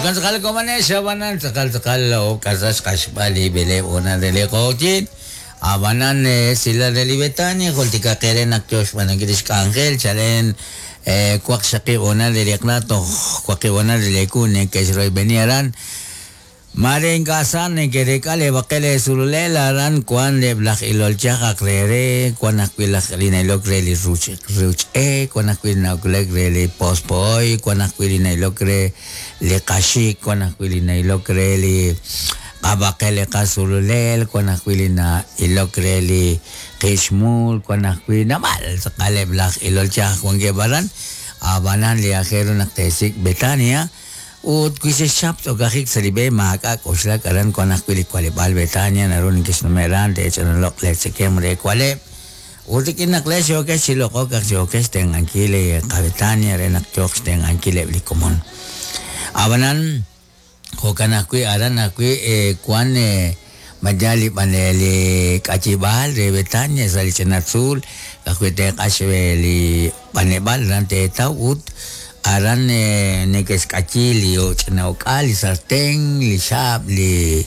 Jo'kan tz'aqal komonex, ab'anan tz'aqal tz'aqal ok'asa xq'axb'al li b'eleeb' hoonal re li q'oqyink. Ab'anan esilal re li Betania, jultikaq eere naq yo xb'aanunkil li xk'anjel chalen waqxaqib' hoonal re li eq'la toj waqib' hoonal re li ewu neke'xroyb'eni aran. Maare ink'a' sa neke'reek'a leeb'aqel eesululel, aran wank eb' laj ilol chaj aq re re, wank ajwi' laj li na'ilok re li ruuch e, wank ajwi' li na'ilok re li pospo'oy, wank ajwi' li na'ilok re li qaxik, wank ajwi' li na'ilok re li qab'aqel li qasululel, wank ajwi' li na'ilok re li qixmul, wank ajwi' naab'al tz'aqal eb' laj ilol chaj wankeb' aran. Ab'anan li aajel ru naq teesik' Betania. Ut wi xexchap tz'okajik sa' li b'e, maak'a' k'oxlak, aran wank ajwi' li waleb'aal Betania, naru nekexnume' aran, teech'analo'q leetzekemq re waleb'. Ut rik'in naq leex yookex chi loq'ok, ak yookex xtenq'ankil li qaBetania re naq yooq xtenq'ankil eb' li komon. Ab'anan, jo'kan ajwi' aran ajwi' wank ma yaal li b'an li k'ayib'aal re Betania sa' li ch'ina tzuul, ka'ajwi' teeq'ax li b'aneb'aal aran teetaw ut aran neke'xk'ayi li ch'ina uk'al, li sarten, li xaab', li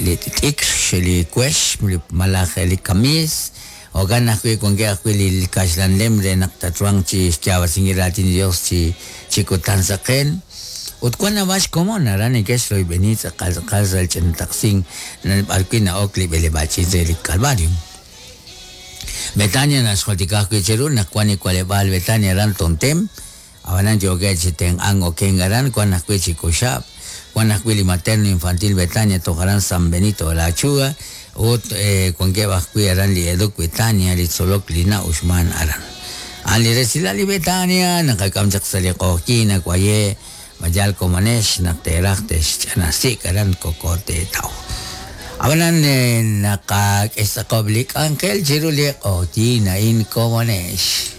li t'ikr, li wex malaj li kamiis. Jo'kan ajwi' wankeb' ajwi' li kaxlan lem re naq tatruhanq chi xyaab'asinkil Raatin li Yos chi chi kutan saqen. Ut wank naab'al xkomon aran neke'xroyb'eni tz'aqal tz'aqal sa' li ch'ina taqsink b'arwi' na'ok li b'eleb'aal ch'iich' re li Calvario. Betania naxjultika ajwi' cheru naq wank li waleb'aal Betania aran Tontem, Ab'anan yookeb' chi tenq'ank okenk aran, wank ajwi' chi k'uxab', wank ajwi' li Materno Infantil Betania toj aran San Benito de la Achuga ut wankeb' ajwi' aran li Educ Betania li tzolok li na'uxmank aran. A'an li resilal li Betania naqak'am chaq sa' li q'oqyink nawaye' ma yal komonex naq teeraj texch'anasik' aran koko teetaw. Ab'anan naqak'e xtz'aqob' li k'anjel chiru li q'oqyink a'in komonex.